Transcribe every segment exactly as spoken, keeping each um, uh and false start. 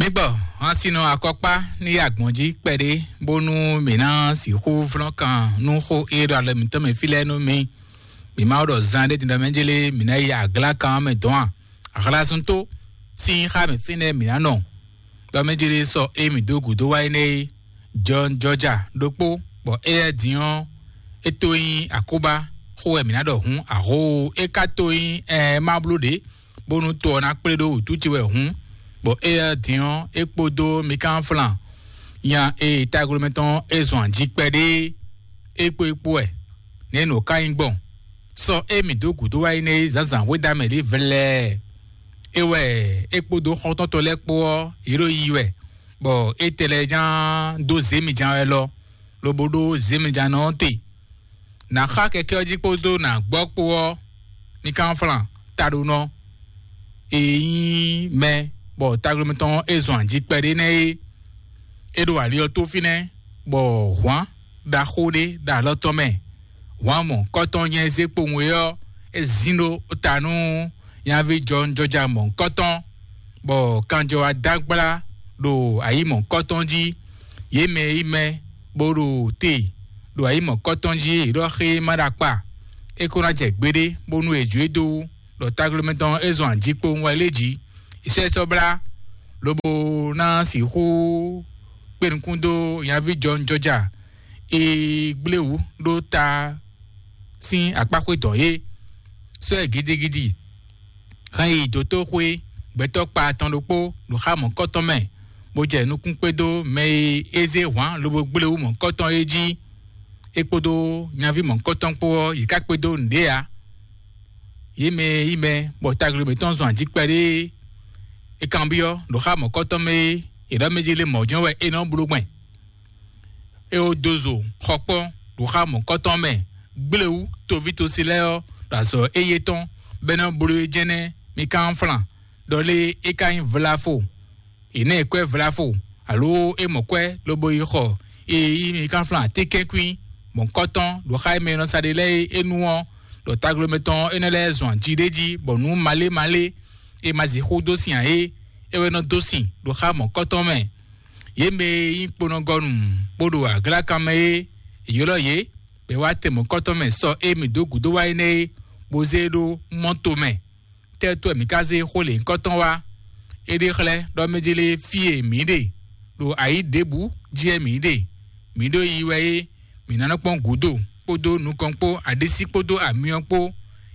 Egbɔ, hɔn sinɔ akɔkpá ní yí agbɔ̌n jí kpɛɖé, bónú mǐ ná sixú flɔ́n kan nú xó e ɖo alɔ mǐtɔn mɛ fí lɛ́ɛ nú mì. Mǐ ma ɖɔ zan ɖé din ɖɔ mɛ jélé mǐ ná yi aglá kan mɛ dɔn a? Ahlásúntó sín xá mɛ fínɛ́ mǐ ná nɔ. Ɖɔ mɛ jélé sɔ e mǐ dó gǔdo wá énɛ́ é, John Georgia ɖokpó, bɔ éyɛ́ din ɔ́, é tó nyí akóbá xó wɛ mǐ ná ɖɔ hǔn, ahoo, é ka tó nyí ɛɛ ma bló ɖě, bónú to ɔ́ ná kplé ɖó wǔtú ce wɛ hǔn, bɔ éyɛ́ din ɔ́, é kpódó Mikánflan nya e taglomɛ tɔn é zɔn ají kpɛɖé é kpó é kpó wɛ. Nɛ̌ nǔ ká nyí gbɔn? Sɔ e mǐ dó gǔdo wá yi nɛ́ é zǎnzǎn xwédamɛ lě vlɛɛ. É wɛ é kpódó xɔ́ntɔ́ntɔ́ lɛ́ɛ kpó ɔ́, yě ɖo yiyi wɛ, bɔ é tɛ lɛ́ɛ ján dó zě mi ján wɛ lɔ, lobo ɖó zě mi ján nɔ ɔ́ te. Nǎ xá kɛkɛ́ ɔ́ jí kpódó nǎ gbɔ kpó ɔ́, mi kán flan taɖonɔ e nyí mɛ bɔ taglomɛ tɔn é zɔn ají kpɛɖé nɛ́ é. É ɖo ali ɔ́ tó fínɛ́, bɔ hwǎn ɖaxó ɖé ɖo alɔ tɔn mɛ. Hwǎn mɔ̌kɔ́tɔn nyɛ zé kpowun é ɔ́, é zín ɖó ta nú nyaví jɔnjɔja mɔ̌kɔ́tɔn, bɔ kanjɔ wá dó agbla ɖo ayǐ mɔ̌kɔ́tɔn jí. Yě mɛ e nyí mɛ bó ɖo te ɖo ayǐ mɔ̌kɔ́tɔn jí é ɖɔ xé ma ɖo akpa. É ko ná jɛ gbeɖé bónú è jǒ e dó wú, ɖɔ taglomɛ tɔn é zɔn ají kpowun wɛ lé jí. È sɔ́ ɛ sɔ́ blá, lobo ná sixú kpe nukún dó nyaví jɔnjɔja e gblé wǔ ɖó ta sín akpáxwé dɔn é. Sɔ́ ɛ gidigidi hɛn yi dǒtóxwé gbɛtɔ́ kpa tɔn ɖokpó ɖo xá mɔ̌kɔ́tɔn mɛ, bó jɛ nukún kpédó mɛ e é zé hwǎn lobo gblé wú mɔ̌kɔ́tɔn é jí. É kpódó nyaví mɔ̌kɔ́tɔn kpó ɔ́, yě ká kpédó nǔɖé ǎ. Yě mɛ e nyí mɛ bɔ taglomɛ tɔn zɔn ají kpɛɖé é kanbyɔ́ ɖo xá mɔ̌kɔ́tɔn mɛ é, è ɖɔ mɛ jí lé mɔ̌jɔ́n wɛ é nɔ bló gbɛn. É ó dó zo xɔkpɔ́ ɖo xá mɔ̌kɔ́tɔn mɛ, gblé wú toví tosi lɛ́ɛ ɔ́ ɖo azɔ̌ éyé tɔn, bɔ é nɔ bló é jɛ́nɛ́ mi kán flan, ɖɔ lé é ka nyí vlafo. È nɛ́ ɛ kwɛ́ vlafo, alo é mɔ kwɛ́ lobo yi xɔ e yí mi kán flan atínkɛ́nkwín mɔ̌kɔ́tɔn ɖo xá e mɛ e nɔ sa ɖe lɛ́ɛ é nu ɔ́, ɖɔ taglomɛ tɔn énɛ́ lɛ́ɛ zɔn aji ɖé jí, bɔ nǔ malé malé e ma sixú dó sin ǎ é, é wɛ nɔ dó sin ɖo xá mɔ̌kɔ́tɔn mɛ. Yě mɛ e nyí kponɔgɔnu bó ɖo aglákan mɛ é, è ylɔ́ yě, bɔ è wá tɛ mɔ̌kɔ́tɔn mɛ sɔ e mǐ dó gǔdo wá énɛ́ é, bó zé e ɖó mɔ́to mɛ. Tɛ́ wɛ mǐ ka zé xó lěhunkɔtɔn wá? É ɖe xlɛ́ ɖɔ mɛ jélé fí e mǐ ɖe, ɖo ayǐ ɖěbǔ jí wɛ mǐ ɖe. Mǐ ɖo yiyi wɛ é, mǐ ná nɔ kpɔ́n gǔdo kpódó nukɔn kpó, aɖisí kpódó amyɔ kpó.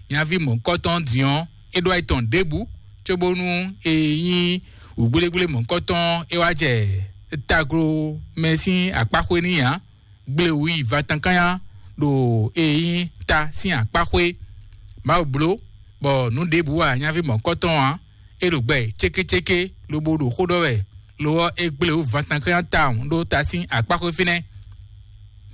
Nyaví mɔ̌kɔ́tɔn din ɔ́, é ɖó ayǐ tɔn ɖěbǔ, cóbónú e nyí wǔgblégblémɔ kɔ́tɔn é wá jɛ taglo mɛ sín akpáxwé n'i ǎ. Gblewǔ yi vatankánya ɖo e nyí ta sín akpáxwé. Mawu bló bɔ nǔ ɖěbǔ wa nyaví mɔ̌kɔ́tɔn ǎ. É ɖo gbɛ cékécéké lobo ɖo xó ɖɔ wɛ, lo ɔ́, é gblewǔ vatankánya tawun ɖó ta sín akpáxwé fínɛ́.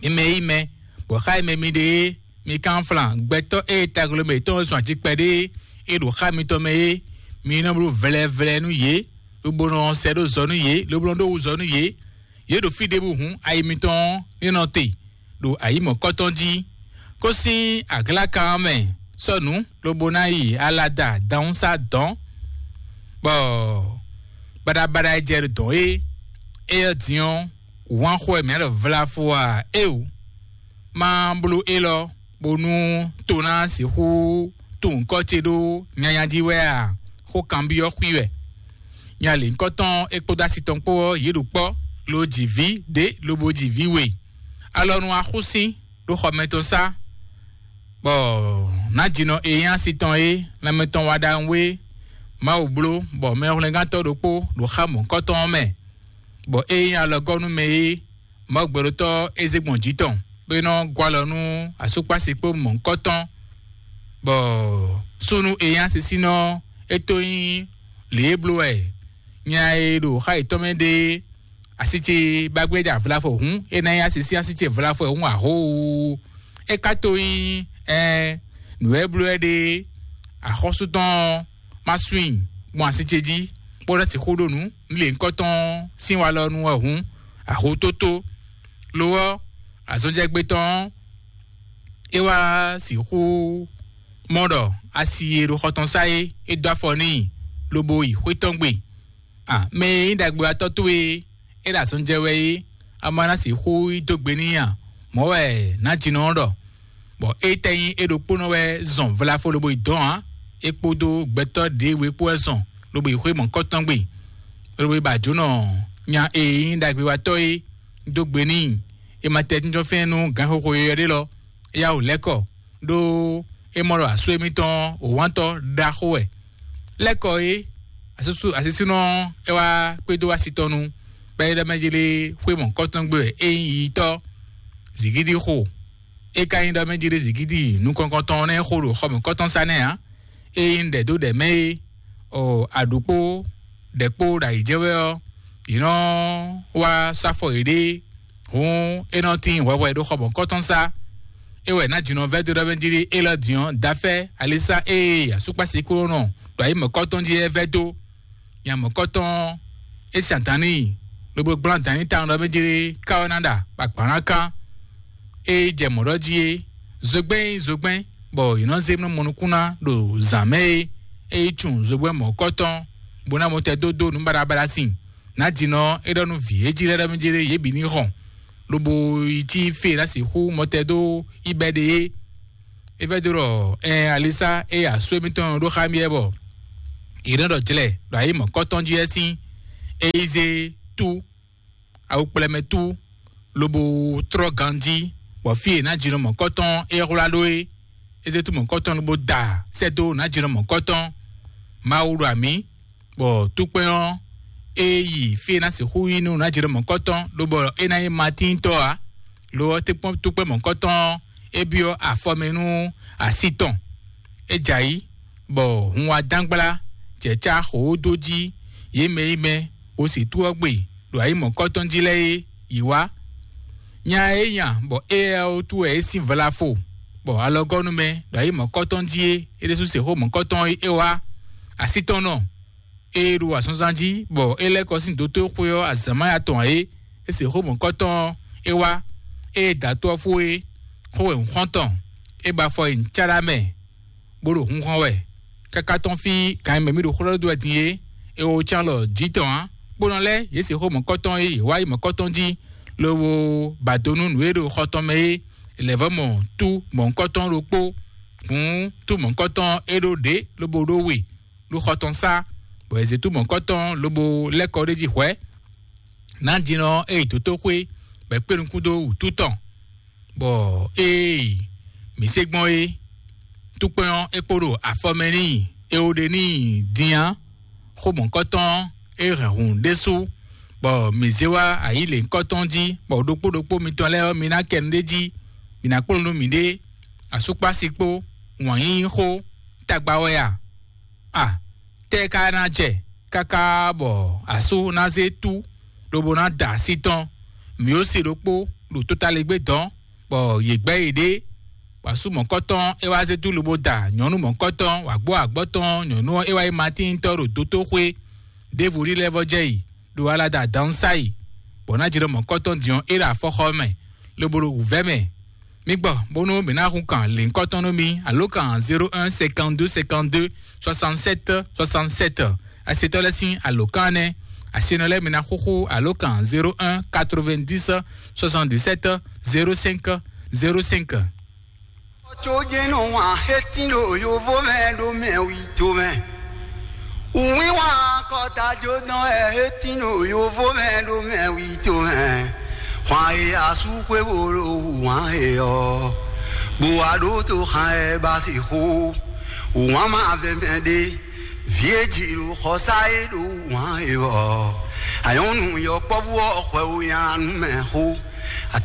Mi mɛ yí mɛ, bɔ xá e mɛ mi ɖe é, mi kán flan gbɛtɔ́ e taglo mǐtɔn zɔn aji kpɛɖé é ɖo xá mitɔn mɛ é, mi nɔ bló vlɛvlɛ nú yě, lobo nɔ sɛ ɖó zɔ nú yě, lobo nɔ ɖó wuzɔ nú yě. Yě ɖo fí ɖěbǔ hǔn ayi mitɔn ɔ́ ní nɔ te ɖo ayǐ mɔ̌kɔ́tɔn jí. Kó sín aglákan ɔ́ mɛ sɔ́ nǔ lobo ná yi alada dǎnsá dɔ̌n, bɔ baɖabaɖa e jɛ dɔ̌n é, éyɛ́ din ɔ́, wǎn xo wɛ mǐ ɖɔ vlafo a? Éeǒ, má bló élɔ́ bónú to ná sixú tunwun kɔ́ ce ɖó nyanya jí wɛ a? Xó kanbyɔ́ xwí wɛ. Nya lěhunkɔtɔn é kpódó asi tɔn kpó ɔ́, yě ɖo kpɔ́, lo ji vǐ ɖě lobo ji vǐ we. Alɔnu axúsín ɖó xɔ mɛtɔn sá, bɔ nǎjínɔ e nyí asi tɔn é, lanmɛ tɔn wa ɖawun é, Mawu bló bɔ mɛhwlɛ́ngántɔ́ ɖokpó ɖo xá mɔ̌kɔ́tɔn ɔ́ mɛ, bɔ é nyí alɔgɔ́nú mɛ é, Mawu gbɛɖotɔ́ é zé gbɔn jǐ tɔn, bó é nɔ gɔ́ alɔ nú asúkpási kpó mɔ̌kɔ́tɔn, bɔ súnnu e nyí asisínɔ é tó nyí lě e bló wɛ nya e ɖo xá yětɔn mɛ ɖe asi ce ba gbé ɖa vlafɔ hǔn, é ná nyí asi sín asi ce vlafɔ hǔn ahoo. É ka to nyí ɛɛ nǔ e bló wɛ ɖe axɔ́sú tɔn ɔ́ ma swin gbɔn asi ce jí, bó ná sixú ɖo nǔ lě ŋkɔtɔn sín wa lɔ nu wɛ hǔn, ahotótó. Lo ɔ́, azɔnjɛgbé tɔn ɔ́, é wá sixú mɔ ɖɔ asi e ɖo xɔ tɔn sá é, é dó afɔ n'i, lobo yi xwé tɔn gbe. A mɛ e nyí ɖagbewatɔ́ towe é ɖo azɔn jɛ wɛ é, a ma ná sixú yi dó gbe n'i a? Mɔ̌ wɛ nǎjínɔ ɔ́ ɖɔ. Bɔ étɛ́ nyí é ɖokpónɔ wɛ zɔn vlafo lobo yi dɔn ǎ, é kpódó gbɛtɔ́ ɖěwe kpó wɛ zɔn lobo yi xwé mɔ̌kɔtɔn gbe, lobo yi ba jǒnɔ nya e nyí ɖagbewatɔ́ é dó gbe n'i. É ma tɛ jínjɔ́n fɛ́n nú gǎnxoxo yɔyɔ́ ɖé lɔ, é yá wǔ lɛ́ kɔ, ɖó é mɔ ɖɔ asú émítɔn ɔ́, wǒwántɔ́ ɖaxó wɛ. Lɛ́ kɔ é, asisúnɔ ɔ́, é wá kpédó asi tɔn nu, bɔ é ɖɔ mɛ jí lé xwé mɔ̌kɔtɔn gbe wɛ é nyí yiyitɔ́, zǐgídi xo. É ka nyí ɖɔ mɛ jí lé zǐgídi nukɔn tɔn nɛ́ xo ɖo xɔ mɔ̌kɔtɔn sá nɛ́ ǎ. É nyí ɖɛ̌ dó ɖɛ̌ mɛ é, ɔ, aɖǔkpó ɖɛ̌ kpó ɖo ayǐ jɛ wɛ ɔ́, yě nɔ wá sɔ́ afɔ yěɖée, hǔn é nɔ tín hwɛhwɛ ɖó xɔ mɔ̌kɔtɔn sá. É wɛ nǎ jǐnɔ vɛ́ dó ɖɔ mɛ jí é lɔ din ɔ́, dafɛ́ alisa ée asúkpási kó nɔ ɖo ayǐ mɔ̌kɔtɔn jí é vɛ́ dó. Nya mɔ̌kɔtɔn é sin adǎn n'i, lobo gblán adǎn n'i tawun ɖɔ mɛ jí ká ɔ́ ná ɖa bɔ agban ná kán. É jɛ mɔ̌ ɖɔ jí é, zogbɛ́n nyí zogbɛ́n, bɔ yě nɔ zé nú mɔnukún ná ɖo zǎn mɛ é, é yi tun zogbɛ́n mɔ̌kɔtɔn, bó ná mɔ tɛ dó dó nǔ baɖabaɖa sin. Nǎjínɔ é ɖɔ nú vǐ e jí lɛ́ɛ ɖɔ mɛ jí ɖé yě bǐ ní hɔn, lobo yi cí fí e ná sixú mɔtɛ dó yi bɛ́ ɖe é. É vɛ́ dó ɖɔ ɛn alisa é asú émítɔn ɖó xá mì wɛ bɔ yě nɔ ɖɔ jlɛ ɖo ayǐ mɔ̌kɔtɔn jí wɛ sín. É yi zé tú awu kplɛmɛ tú, lobo trɔ́ ganjí, bɔ fí e nǎjínɔ mɔ̌kɔtɔn é hwlá ɖó é, é zé tú mɔ̌kɔtɔn lobo da sɛ́ dó nǎjínɔ mɔ̌kɔtɔn. Mawu ɖo amǐ, bɔ túkpɛn ɔ́, é yi fí e ná sixú yi nú nǎjínɔ mɔ̌kɔtɔn, lobɔ é ná nyí matíntɔ́ ǎ, lo ɔ́, túkpɛn mɔ̌kɔtɔn ɔ́, é byɔ́ afɔ mɛ nú así tɔn. É jɛ ayǐ, bɔ hun wá dán gbla, jɛ cá xǒ dó jí, yě mɛ yi mɛ, bó sì tú ɔ́ gbe ɖo ayǐ mɔ̌kɔtɔn jí lɛ́ɛ é, yě wá. Nya e é nya bɔ éyɛ́ ɔ́ wútu wɛ é sín vlafo, bɔ alɔgɔ́nú mɛ ɖo ayǐ mɔ̌kɔtɔn jí é, é ɖésú se xó mɔ̌kɔtɔn é wá. Así tɔn nɔ, é ɖo azɔnzan jí, bɔ é lɛ́ kɔ sín dótó xwé ɔ́ azǎn má ya tɔn ǎ é, é se xó mɔ̌kɔtɔn ɔ́, é wá, é da tó ɔ́ fó é, xó wɛ un xɔ́n tɔn, é ba afɔ yi nǔcáɖá mɛ, bó ɖo hun xɔ́n wɛ. Káká tɔ́n fí gan e mɛ mì ɖo xó ɖɔ dó wɛ din é, é wo cán lɔ jǐ tɔn ǎ. Kpónɔ lɛ́ɛ yě se xó mɔ̌kɔtɔn e yě wá yi mɔ̌kɔtɔn jí, lobo ba do nú nǔ e ɖo xɔ tɔn mɛ é. Lɛ̌vɔ́ mɔ tú mɔ̌kɔtɔn ɖokpó, hǔn tú mɔ̌kɔtɔn é ɖó ɖě lobo ɖó we ɖo xɔ tɔn sá, bɔ è zě tú mɔ̌kɔtɔn lobo lɛ́ kɔ ɖ'é jí hwɛ̌. Nǎjínɔ ɔ́ é yi dǒtóxwé, bɔ è kpé nukún dó wǔtu tɔn, bɔ ée mǐ se gbɔn é, túkpɛn ɔ́ é kpo ɖo afɔ mɛ n'i, é ó ɖe n'i din ǎ. Xó mɔ̌kɔtɔn ɔ́, é hɛn hǔn ɖésú, bɔ mǐ zé wá ayǐ lěhunkɔtɔn jí, bɔ ɖokpó ɖokpó mitɔn lɛ́ɛ ɔ́, mi ná kɛ nu ɖé jí, mǐ ná kplɔ́n nú miɖée, asúkpási kpó, wǎn yíyí xó, tagba wɛ a? A tɛ́ ka ná jɛ káká bɔ asú ná zé tú, lobo ná da así tɔn? Mǐ ó se ɖokpó ɖo tótaligbé dɔn, bɔ yě gbɛ́ yěɖée, bɔ asú mɔ̌kɔtɔn é wá zé dú lobo da nyɔ̌nu mɔ̌kɔtɔn, wǎgbó agbɔ́ tɔn nyɔ̌nu ɔ́ é wá yi matíntɔ́ ɖo dótóxwé, ɖěvo ɖi lɛ́ vɔ́ jɛ yi ɖo alada dǎnsáyi, bɔ ná jɛ ɖɔ mɔ̌kɔtɔn din ɔ́ é ɖo afɔxɔ mɛ, lobo ɖo wǔvɛ́ mɛ. Mi gbɔ bónú mǐ ná hun kan lěhunkɔtɔn nú mi, alo kan zéro un cinquante-deux cinquante-deux soixante-sept soixante-sept. Asetɔ́ lɛ́ɛ sín alǒkan nɛ́. Asenɔ lɛ́ɛ mi ná xúxú alǒkan zéro un quatre-vingt-dix soixante-dix-sept zéro cinq zéro cinq. Ɔtsojɛnɔ wan hetin ɖo yovo mɛ ɖo mɛ wi to mɛ. Wínwán kɔta jó dán ɛ hetin ɖo yovo mɛ ɖo mɛ wi to mɛ. Hwan e asú xwé wo ɖo wán e ɔ. Bó wá ɖó tó xan ɛ ba se xó. Wán ma vɛ mɛ ɖé. Vǐ e jǐ ɖo xɔsá e ɖo wán e ɔ. Ayɔnu yɔkpɔ́vú ɔ xwɛ wo nyan nú mɛ xó.